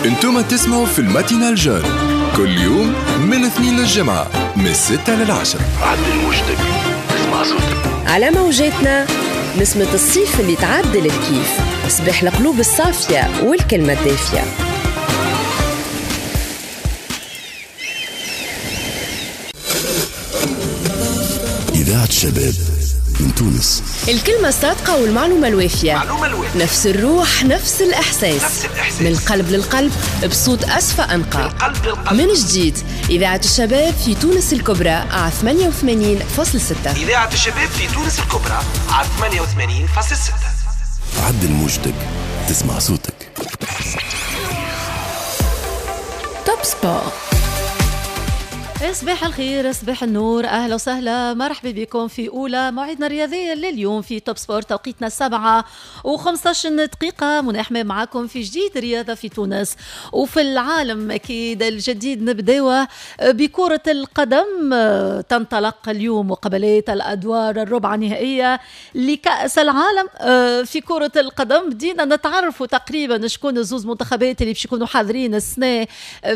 انتم تسمعوا في ال matinale jeune كل يوم من الاثنين للجمعة من 6 لل10. عدل وجدك تسمع صوتك على موجاتنا، نسمة الصيف اللي تعدل الكيف، صباح القلوب الصافية والكلمة الدافية. إذاعة شباب من تونس، الكلمة الصادقة والمعلومة الوافية، نفس الروح نفس الإحساس، نفس الإحساس. من القلب للقلب بصوت أصفى أنقى. القلب للقلب. من جديد إذاعة الشباب في تونس الكبرى على 88.6. إذاعة الشباب في تونس الكبرى على 88.6. عدل موجتك تسمع صوتك. Top Sport. صباح الخير، صباح النور، أهلا وسهلا، مرحبا بكم في أولى موعدنا الرياضي لليوم في Top Sport. توقيتنا 7:15، منى حمام معاكم في جديد رياضة في تونس وفي العالم. أكيد الجديد نبداوه بكرة القدم. تنطلق اليوم مقابلات الأدوار الربع النهائية لكأس العالم في كرة القدم. بدينا نتعرفوا تقريبا شكون زوز منتخبات اللي باش يكونوا حاضرين السنة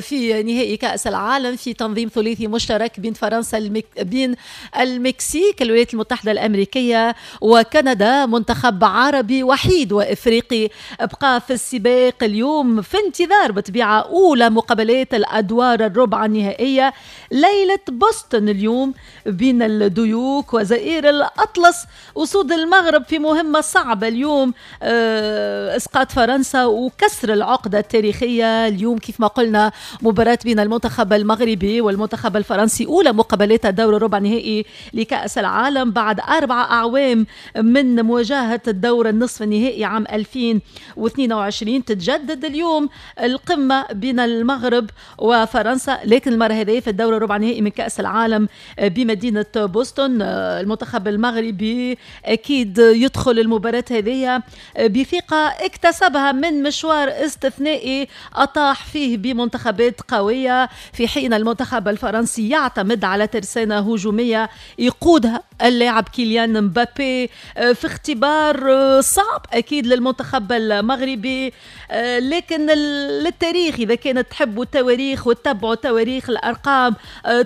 في نهائي كأس العالم في تنظيم ثلاثي مشترك بين فرنسا، بين المكسيك، الولايات المتحدة الأمريكية وكندا. منتخب عربي وحيد وإفريقي بقى في السباق اليوم، في انتظار بطبيعة أولى مقابلات الأدوار الربع النهائية ليلة بوسطن اليوم بين الديوك وزئير الأطلس. أسود المغرب في مهمة صعبة اليوم، إسقاط فرنسا وكسر العقدة التاريخية. اليوم كيف ما قلنا مباراة بين المنتخب المغربي والمنتخب الفرنسي، أولى مقابلات الدور الربع النهائي لكأس العالم بعد 4 أعوام من مواجهة الدور النصف النهائي عام 2022. تتجدد اليوم القمة بين المغرب وفرنسا، لكن المرة هذه في الدور الربع النهائي من كأس العالم بمدينة بوسطن. المنتخب المغربي أكيد يدخل المباراة هذه بثقة اكتسبها من مشوار استثنائي أطاح فيه بمنتخبات قوية، في حين المنتخب الفرنسي يعتمد على ترسانة هجومية يقودها اللاعب كيليان مبابي في اختبار صعب أكيد للمنتخب المغربي. لكن للتاريخ، إذا كانت تحبوا التواريخ وتتبعوا تواريخ الأرقام،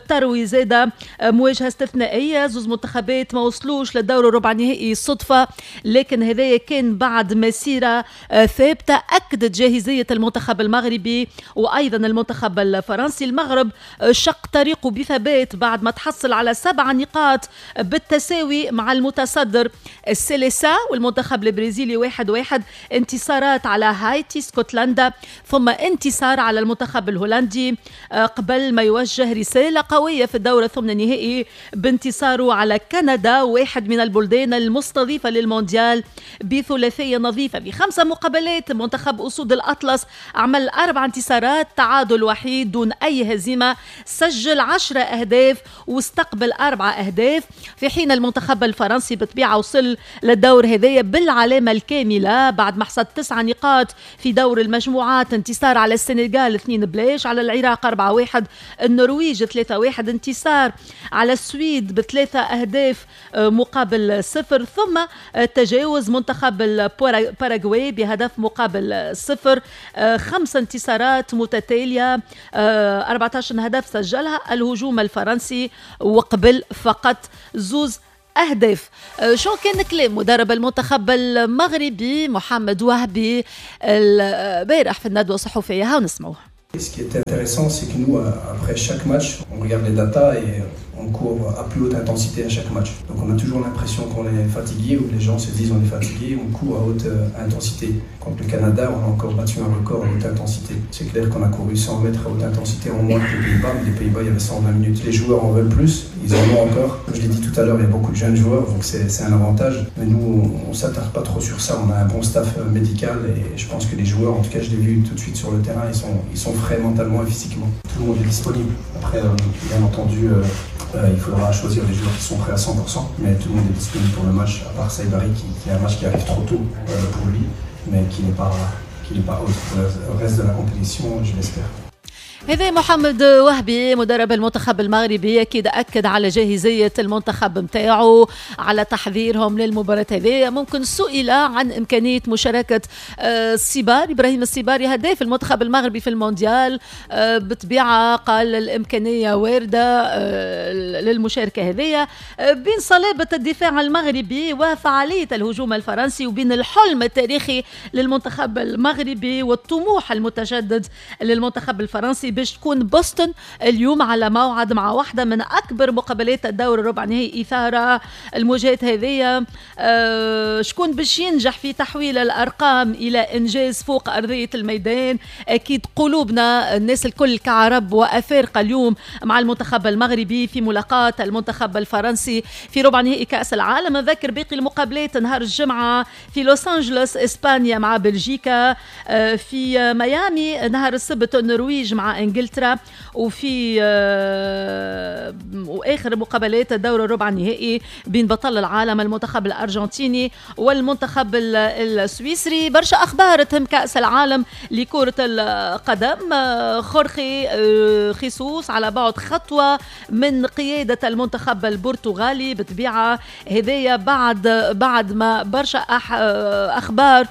تروي زادة مواجهة استثنائية، زوز منتخبات ما وصلوش للدور الربع النهائي صدفة، لكن هذايا كان بعد مسيرة ثابتة أكدت جاهزية المنتخب المغربي وأيضا المنتخب الفرنسي. المغرب شق طريقه بثبات بعد ما تحصل على 7 نقاط بالتساوي مع المتصدر السيليسا والمنتخب البرازيلي 1-1، انتصارات على هايتي، اسكتلندا، ثم انتصار على المنتخب الهولندي قبل ما يوجه رسالة قوية في الدور الثمن النهائي بانتصاره على كندا، واحد من البلدان المستضيفة للمونديال، بثلاثية نظيفة في 5 مقابلات. منتخب أسود الأطلس عمل 4 انتصارات، تعادل وحيد دون أي هزيمة، سجل 10 أهداف واستقبل 4 أهداف، في حين المنتخب الفرنسي بطبيعة وصل للدور هذايا بالعلامة الكاملة بعد ما حصد 9 نقاط في دور المجموعات، انتصار على السنغال 2-0، على العراق 4-1، النرويج 3-1، انتصار على السويد ب3 أهداف مقابل 0، ثم تجاوز منتخب الباراغواي بهدف مقابل 0. 5 انتصارات متتالية، 14 هدف سجلها الهجوم الفرنسي وقبل فقط 2 أهداف. شو كان كلام مدرب المنتخب المغربي محمد وهبي البارح في الندوة الصحفية؟ هاو نسمعوه. Ce qui est intéressant, c'est que nous, après chaque match, on regarde les datas et on court à plus haute intensité à chaque match. Donc on a toujours l'impression qu'on est fatigué, ou les gens se disent on est fatigué, on court à haute intensité. Contre le Canada, on a encore battu un record à haute intensité. C'est clair qu'on a couru 100 mètres à haute intensité en moins que les Pays-Bas, mais les Pays-Bas, il y avait 120 minutes. Les joueurs en veulent plus, ils en ont encore. Comme je l'ai dit tout à l'heure, il y a beaucoup de jeunes joueurs, donc c'est un avantage. Mais nous, on ne s'attarde pas trop sur ça. On a un bon staff médical et je pense que les joueurs, en tout cas je l'ai vu tout de suite sur le terrain, ils sont frais mentalement et physiquement. Tout le monde est disponible. Après, bien entendu, il faudra choisir les joueurs qui sont prêts à 100%, mais tout le monde est disponible pour le match, à part Saibari qui est un match qui arrive trop tôt pour lui, mais qui n'est pas autre pour le reste de la compétition, je l'espère. هذا محمد وهبي مدرب المنتخب المغربي، اكيد اكد على جاهزية المنتخب نتاعو، على تحضيرهم للمباراة هذه. ممكن سئل عن امكانية مشاركة السيباري، ابراهيم السيباري هداف المنتخب المغربي في المونديال، بطبيعة قال الامكانية وارده للمشاركة هذه. بين صلابة الدفاع المغربي وفعاليه الهجوم الفرنسي، وبين الحلم التاريخي للمنتخب المغربي والطموح المتجدد للمنتخب الفرنسي، باش تكون بوسطن اليوم على موعد مع واحدة من أكبر مقابلات الدور الربع نهائي إثارة. المواجهات هذه شكون باش ينجح في تحويل الأرقام إلى إنجاز فوق أرضية الميدان؟ أكيد قلوبنا الناس الكل كعرب وأفارقة اليوم مع المنتخب المغربي في ملاقاة المنتخب الفرنسي في ربع نهائي كأس العالم. نذكر باقي المقابلات نهار الجمعة في لوس أنجلوس إسبانيا مع بلجيكا، في ميامي نهار السبت النرويج مع انجلترا، وفي واخر مقابلات الدور الربع النهائي بين بطل العالم المنتخب الارجنتيني والمنتخب السويسري. برشا اخبار تهم كاس العالم لكرة القدم. خورخي خيسوس على بعد خطوة من قيادة المنتخب البرتغالي، بطبيعة هذايا بعد ما برشا اخبار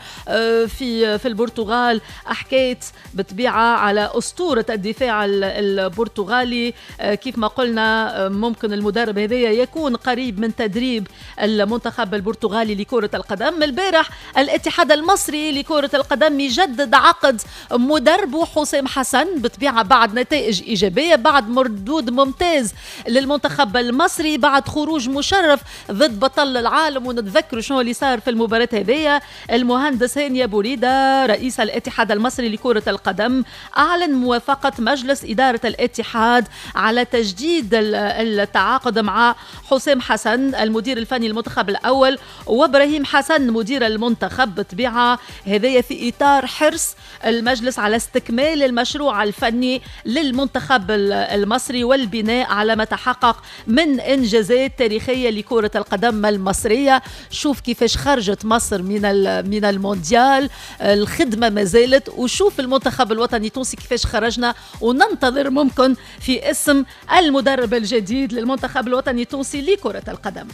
في البرتغال حكيت بطبيعة على اسطورة الدفاع البرتغالي. كيف ما قلنا ممكن المدرب هذايا يكون قريب من تدريب المنتخب البرتغالي لكرة القدم. البارح الاتحاد المصري لكرة القدم يجدد عقد مدربه حسام حسن، بطبيعة بعد نتائج إيجابية، بعد مردود ممتاز للمنتخب المصري، بعد خروج مشرف ضد بطل العالم، ونتذكروا شنو اللي صار في المباراة هذيا. المهندس هاني بوريدة رئيس الاتحاد المصري لكرة القدم أعلن موافقة مجلس إدارة الاتحاد على تجديد التعاقد مع حسام حسن المدير الفني المنتخب الأول وإبراهيم حسن مدير المنتخب. بطبيعة هذايا في إطار حرص المجلس على استكمال المشروع الفني للمنتخب المصري والبناء على ما تحقق من إنجازات تاريخية لكرة القدم المصرية. شوف كيفاش خرجت مصر من المونديال، الخدمة ما زالت، وشوف المنتخب الوطني التونسي كيفاش خرجنا، وننتظر ممكن في اسم المدرب الجديد للمنتخب الوطني التونسي لكرة القدم.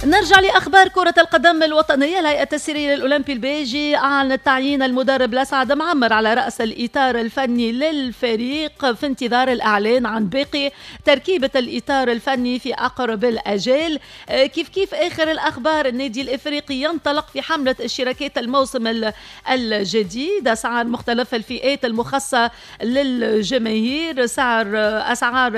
نرجع لأخبار كرة القدم الوطنية. الهيئة التسييرية للأولمبي البيجي أعلنت تعيين المدرب لسعد معمر على رأس الإطار الفني للفريق في انتظار الإعلان عن باقي تركيبة الإطار الفني في أقرب الأجال. كيف آخر الأخبار، النادي الإفريقي ينطلق في حملة اشتراكات الموسم الجديد. أسعار مختلف الفئات المخصصة للجماهير، أسعار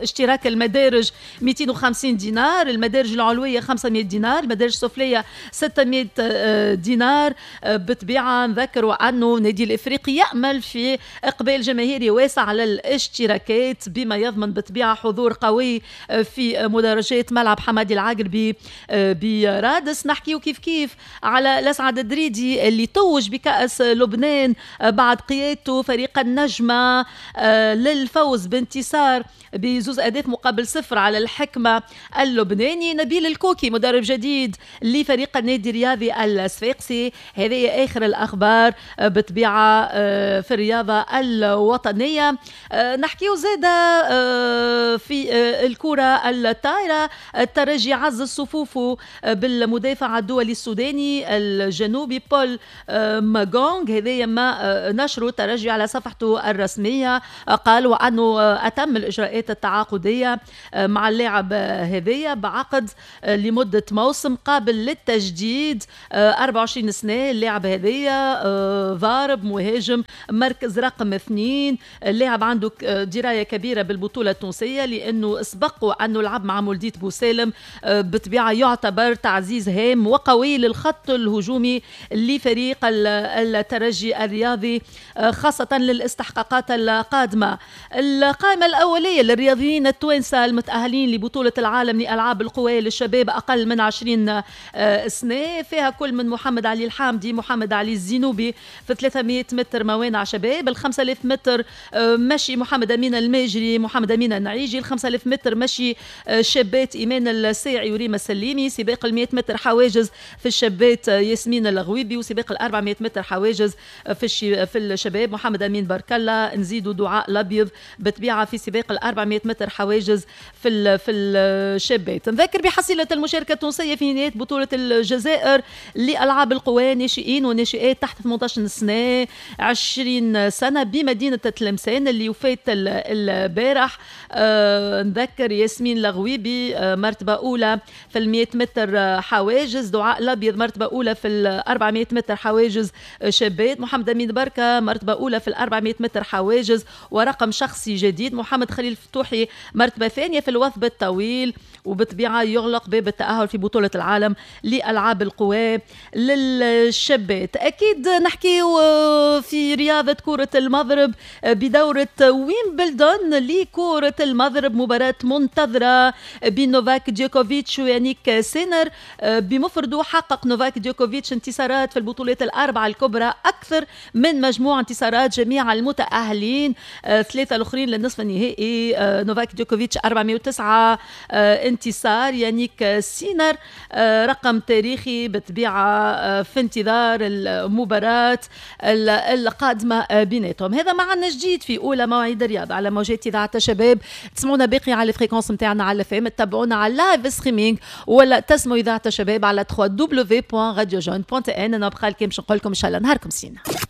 اشتراك المدارج 250 دينار، المدارج العلوية 500 دينار، المدارج السفلية 600 دينار. بطبيعة نذكروا أنه نادي الإفريقي يأمل في إقبال جماهيري واسع على الاشتراكات بما يضمن بطبيعة حضور قوي في مدرجات ملعب حمادي العقربي برادس. نحكيو كيف على لسعد الدريدي اللي توج بكأس لبنان بعد قيادته فريق النجمة للفوز بانتصار بزوز أهداف مقابل 0 على الحكمة اللبناني. نبيل الكوكي مدرب جديد لفريق النادي الرياضي الصفاقسي. هذه آخر الأخبار بطبيعة في الرياضة الوطنية. نحكيو زادة في الكرة الطائرة، الترجي عزز صفوفه بالمدافع الدولي السوداني الجنوبي بول ماغونغ. هذا ما نشره الترجي على صفحته الرسمية، قالوا أنه أتم الإجراءات التعاقدية مع اللاعب هذايا بعقد لمدة موسم قابل للتجديد، 24 سنة. اللاعب هذايا ضارب مهاجم مركز رقم 2. اللاعب عنده دراية كبيرة بالبطولة التونسية لأنه سبق أنه لعب مع مولدية بوسالم. بطبيعة يعتبر تعزيز هام وقوي للخط الهجومي لفريق الترجي الرياضي خاصة للاستحقاقات القادمة. القائمة الأولية للرياضيين التوانسة المتأهلين لبطولة العالم لألعاب القوى للشباب شباب اقل من 20 سنه، فيها كل من محمد علي الحامدي، محمد علي الزينوبي في 300 متر موانع شباب، ال 5000 متر مشي محمد امين الماجري، محمد امين النعيجي، ال 5000 متر مشي شابات ايمان الساعي وريما السليمي، سباق ال 100 متر حواجز في الشابات ياسمين الغويبي، وسباق ال 400 متر حواجز في الشباب محمد امين بركلا. نزيدوا دعاء الابيض بطبيعة في سباق ال 400 متر حواجز في الشابات. نذكر بحصيله المشاركة التونسية في نهاية بطوله الجزائر لالعاب القوى ناشئين وناشئات تحت 18 سنة 20 سنة بمدينة تلمسان اللي وفات البارح. نذكر ياسمين لغويبي مرتبه اولى في ال 100 متر حواجز، دعاء الابيض مرتبه اولى في ال 400 متر حواجز شابات، محمد امين بركة مرتبه اولى في ال 400 متر حواجز ورقم شخصي جديد، محمد خليل فتوحي مرتبه ثانية في الوثب الطويل، وبطبيعة يغلق باب التاهل في بطوله العالم لالعاب القوى للشابات. اكيد نحكي في رياضة كره المضرب بدوره ويمبلدون لكرة المضرب، مباراة منتظره بين نوفاك ديوكوفيتش ويانيك سينر. بمفرده حقق نوفاك ديوكوفيتش انتصارات في البطولات الاربعة الكبرى اكثر من مجموع انتصارات جميع المتاهلين، ثلاثة الاخرين للنصف النهائي. نوفاك ديوكوفيتش 409 انتصار، يانيك سينر رقم تاريخي بطبيعة في انتظار المباراة القادمة بيناتهم. هذا معنا جديد في اولى مواعيد الرياضة على موجات اذاعة الشباب. تسمعونا باقي على ال fréquence نتاعنا على FM، تتبعونا على live streaming ولا تسمعوا اذاعة الشباب على www.radiojeune.tn. انا بقى لكم باش نقول لكم ان شاء الله نهاركم سين.